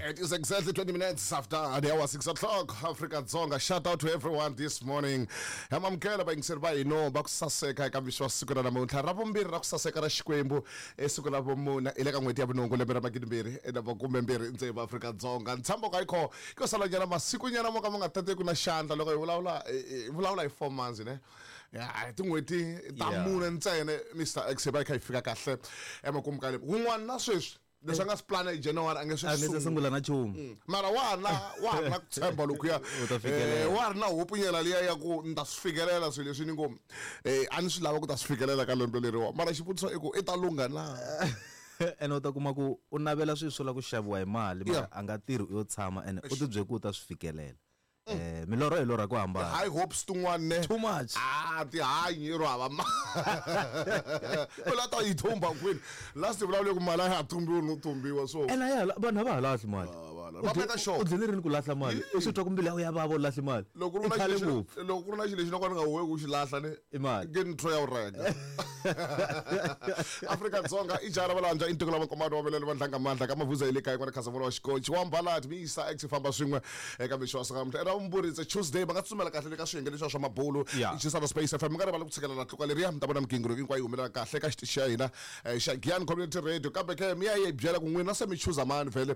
It is exactly 20 minutes after the hour 6 o'clock. Africa Dzonga. Shout out to everyone this morning. Hamamukela vayingiseri va hina va ku saseka eka mixo wa siku ra namuntlha ra vumbirhi ra ku saseka ra Xikwembu esiku ra vumune hi le ka n'hweti ya vunhungu lembe ra magidimbirhi na makumembirhi tsevu Afrika Dzonga. Ntshembo ka yikho ko salanyana masikunyana mo ka ma nga tateki na xandla loko hi vulavula hi vulavula hi 4 months ne ya hi tin'hweti ta mune ntsena Mr X hi va hi kha hi fika kahle emakumu ka lembe wun'wana na sweswi leswi a nga swi plana hi January a nge swi a nge se sungula na nchumu. Mara wa ha na wa ha ri na ku tshemba lokuya. U ta fikelela. Wa ha ri na hope nyana liya ya ku ni ta swi fikelela swilo leswi ni ngo a ni swi lava ku ta swi fikelela ka lembe leriwa mara xivutiso i ku i ta lungha na. Ene u ta kuma ku u navela swilo swo lava ku xaviwa hi mali mara a nga tirhi u yo tshama ene u tibyele ku u ta swi fikelela. Milorho hi lorha ku hambana. High hopes tin'wana ne. Too much. Ah, tihanyi ro hava mali. U la ta yi thumba kwini? Last hi vulavule ku mali a ya ha thumbiwi no thumbiwa so. Ene a ya ha vanhu a va ha lahli mali. Va veka sure. U dlele rini ku lahla mali? U swi twa ku mbilu ya wena ya vava u lahle mali. Loko ku ri na xilo lexi loko ku ri na xilo lexi no ka ni nga huheki ku xi lahla ne. I mali. Nge ni ya u renga. Afrika Dzonga i jara valanja i ntiko la vakomano wa velele vandlanga mandla ka mavuza hi le kaya kwala Khazamula wa xikochi wa mbalati mi yisa ex famba swin'we eka mixo wa siku ra vumbirhi it's a Tuesday va nga tsutsumela kahle le ka swiyenge leswiya swa mabulu Chisana Space FM mi nga rivali ku tshikelela tluka leriya mi ta vona migingiriko hinkwayo yi humelela kahle ka xitichi xa hina xa Giyani Community Radio kambe ke mi ya yi byela ku n'wina se mi chuza mani vhele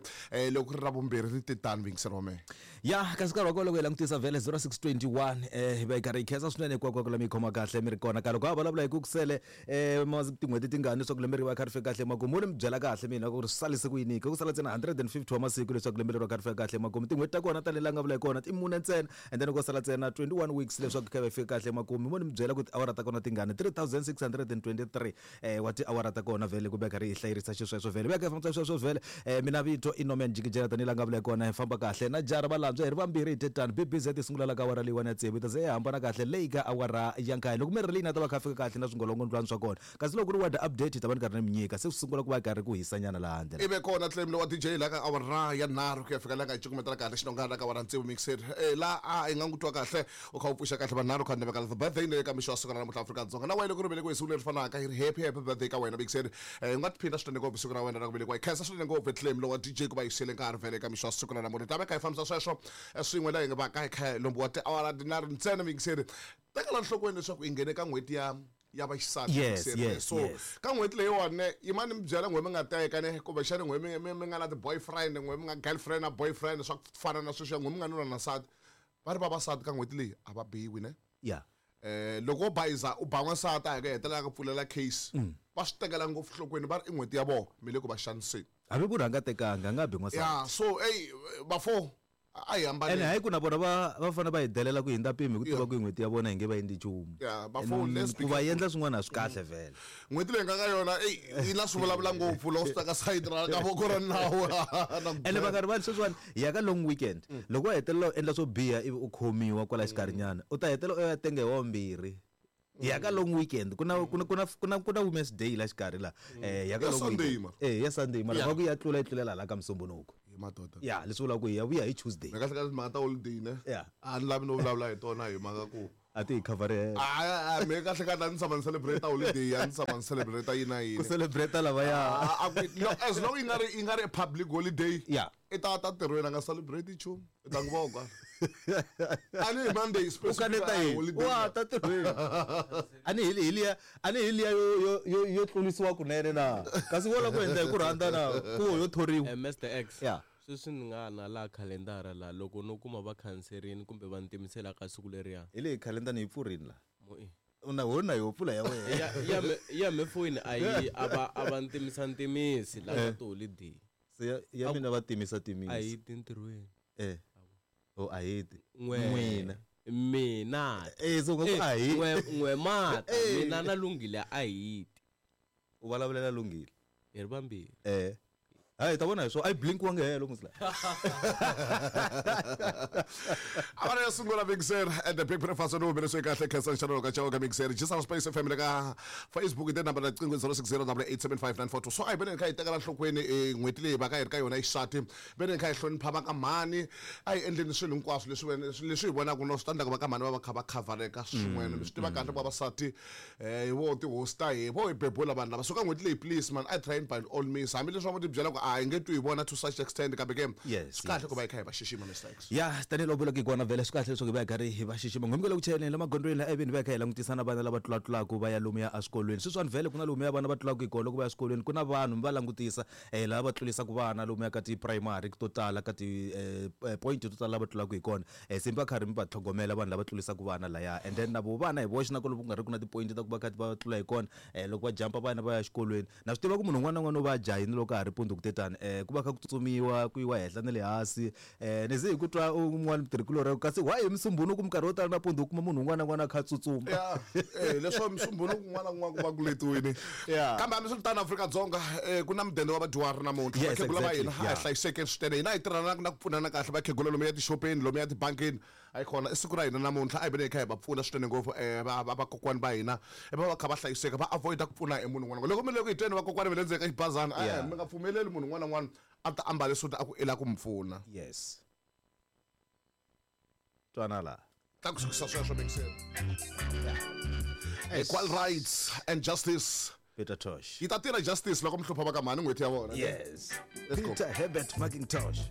loko ku ri ra vumbirhi ri te tani vuyingiseri wa mehe. Ya kasi nkarhi wa kona loko hi langutisa vhele 0621 hi va hi karhi hi khensa swinene hinkwako la mi yi khoma kahle mi ri kona ka loko ha vulavula hi ku kusele tin'hweti tingani leswaku lembe ri va kha ri fika kahle emakumu ni mi byela kahle mina ku ri swi salise ku yini ku sala ntsena 150 wa masiku leswaku lembe leri va kha ri fika kahle emakumu tin'hweti ta kona tanihi la nga vula hi kona ti mune ntsena and then ko sala ntsena 21 weeks leswaku kha va fika kahle emakumu mo ni mi byela ku tiawara ta kona tingani 3623 wa tiawara ta kona vhele ku veka ri hi hlayerisa xisweswo vhele veka hi fambisa sweswo vhele mina vito i Norman Jikijela tanihi la nga vula hi kona hi famba kahle na jara valandzwa hi ri vambirhi hi tetani BBZ yi sungula la ka awara leyiwani ya tsevu yi ta ze yi hambana kahle leyi ka awara ya nkaye loko mi ri leyi na ta va kha fika kahle na swingolongondlwani swa kona kasi loko ku ri weather update hi ta va ni karhi ni mi nyika se swi sungula ku va karhi ku hisanyana laha handle ive kona claim lowa DJ la ka awara ya nharhu ku ya fika la nga hi cukumetela kahle xinongana la ka awara tsevu mixer la a hi nga n'wi twa kahle u kha u pfuxa kahle vanharhu kha ndevekala the birthday leyi ka mixo wa siku ra namuntlha Afrika-Dzonga na wena loko ri velekiwe hi siku leri fanaka hi ri happy happy birthday ka wena mixer u nga tiphina swinene ngopfu siku ra wena ra ku velekiwa hi khensa swinene ngopfu claim lowa DJ ku va yi siyele nkarhi vhele eka mixo wa siku ra namuntlha ta va kha hi fambisa sweswo swin'we la hi nga va ka hi kha hi lombiwa tiawara tinharhu ntsena mixer tekela nhlokweni leswaku hi nghene ka n'hweti ya ya vaxisati so ka n'hweti leyiwani ne yimani mi byela n'hwe mi nga teka ne kumbexani n'hwe mi nga na ti-boyfriend n'hwe mi nga girlfriend na boyfriend swa ku fana na sweswiya n'hwe mi nga nuna na nsati va ri vavasati ka n'hweti leyi a va biwi ne loko wo bayiza u ba n'wansati a hi ku hetelela ka pfulela case va swi tekela ngopfu nhlokweni va ri i n'hweti ya vona mi le ku va xaniseni hambi ku ri a nga tekanga a nga bi n'wansati ya so eyi bafo a hi hambane ene hayi ku na vona va va fanele va hi delela ku hindza mpimo hi ku tiva ku hi n'hweti ya vona hi nge va endli nchumu Ya, bafo, let's be ku va endla swin'wana a swi kahle vhele N'hweti leyi nga ka yona eyi yi na swi vulavula ngopfu loko swi ta ka sayiti ra ka voko ra nawu na ku ene va nga rivali sweswiwani hi ya ka long weekend loko wa hetelela u endla swo biha ivi u khomiwa kwala xikarhinyana u ta hetelela u ya tenge hi wavumbirhi hi ya ka long weekend ku na ku na ku na ku na ku na women's day la xikarhi la hi ya ka Ya long Sunday, weekend mara. eh ya Sunday mara Yeah. va ku ya tlula yi tlulela hala ka Musumbhunuku Hi madoda ya leswi vulaka ku hi ya vuya hi Tuesday kahle kahle timhaka ta holiday ne Yeah. a ni lavi no vulavula hi tona hi mhaka ku a ti hi khavharela a me kahle kahle a ni tshama ni celebrate holiday a ni tshama ni celebrate yini na ku yini celebrate lavaya A- a ku- no, as long yi nga ri yi nga ri public holiday Yeah. i ta ta ntirhweni a nga celebrate nchumu i ta n'wi vona a ni hi Monday u kaneta specific yini holiday wa ta tirhweni a ni hi hi liya a ni hi liya yo yo yo yo tlurisiwa kunene na kasi wo lava ku endla hi ku rhandza na ku yo thoriwa Mr X Yeah. sweswi ni nga na laha khalendara laha loko no kuma va khanserini kumbe va ni timisela ka siku leriya hi leyi khalenda ni yi pfurini la Mo- u na ho na yo pfula ya wena ya ya me ya me foyini a yi a va a va ntimisa ntimisi la ka tiholideyi se ya, ya mina va timisa timisa a yi ti ntirhweni o a hi ti n'we n'wina mina so u nga ku a hi n'we n'we mata mina na lunghile a hi ti u vulavulela lunghile hi ri vambirhi hayi hi ta vona hi swona a yi blinkiwangi helo musi la awara yo sungula mixer and the big breakfast no humelesiwe kahle khensa nxanelo ka chauke mixer jisana space fm le ka facebook hi namba riqingho 060 875 so a hi veneni kha hi tekela nhlokweni n'hweti leyi va ka hi ri ka yona xisati veneni kha hi hlonipha va ka mhani a hi endleni swilo hinkwaswo leswi leswi hi vonaka no swi ta endlaka va ka mhani va va kha va khavhareka swin'wana mi swi tiva kahle vavasati hi vo tihosi ta hi vo hi bebula vanhu lava so ka n'hweti leyi please man I try by all means hambileswi va ti byela ku a hi nge twi hi vona to such extent kambe ke Yes, swi kahle yes. ku va hi kha hi va xixima Mr X. Ya, tanihiloko vulaka hi kona vhele, swi kahle leswaku hi va hi karhi hi va xixima. Ngombe ku chayeleni la magondzweni la evini va hi kha hi langutisa na vana lava tlulatlulaka va ya lomuya eswikolweni. Sweswiwani vhele ku na lomuya vana va tlulaka hi kona loko va ya eswikolweni, ku na vanhu mi va langutisa lava va tlurisaka vana lomuya ka ti-primary to tala, ka ti-point to tala lava tlulaka hi kona. Se mi va karhi mi va tlhogomela vanhu lava tlurisaka vana laya, and then na vo vana hi voxe na ku loko ku nga ri ku na ti-point ta ku va kha va tlula hi kona, loko va jump vana va ya exikolweni. Na swi tiva ku munhu un'wana na un'wana u va a jahile loko ka ha ri mpundzu ku tetani, ku va kha ku tsutsumiwa ku yiwa henhla na le hansi. Ni ze hi ku twa un'wana mutirhikulorhi kasi why hi Musumbunuku minkarhi yo tala nampundzu u kuma munhu un'wana na un'wana a kha a tsutsuma. Ya, leswo Musumbunuku kun'wana na kun'wana ku va ku letiwini. Kambe hambiswiritano, Afrika-Dzonga, ku na mudende wa vadyuhari namuntlha. Yes, Vakhegula va exactly. hina a hi hlayisekeni swinene, hina hi tirhana na ku pfunana kahle. Vakhegula lomu ya tixopeni, lomu ya tibankini, a yi kona. I siku ra hina namuntlha, a hi veni hi kha hi va pfuna swinene ngopfu. Vakokwani va hina va va kha va hlayiseka, va avoid ku pfuna hi munhu un'wana. Loko mi le ku hi tweni vakokwani va le ndzeni ka xibazana, mi nga pfumeleli munhu un'wana na un'wana a ta ambale suti a ku i lava ku mi pfuna. Yes, twana laha. Ta ku sukisa sweswo mixeni. Equal rights and justice. Peter Tosh. Yi ta tirha justice loko mi hlupha va ka mhani n'hweti ya vona. Yes. Let's go. Peter Herbert McIntosh.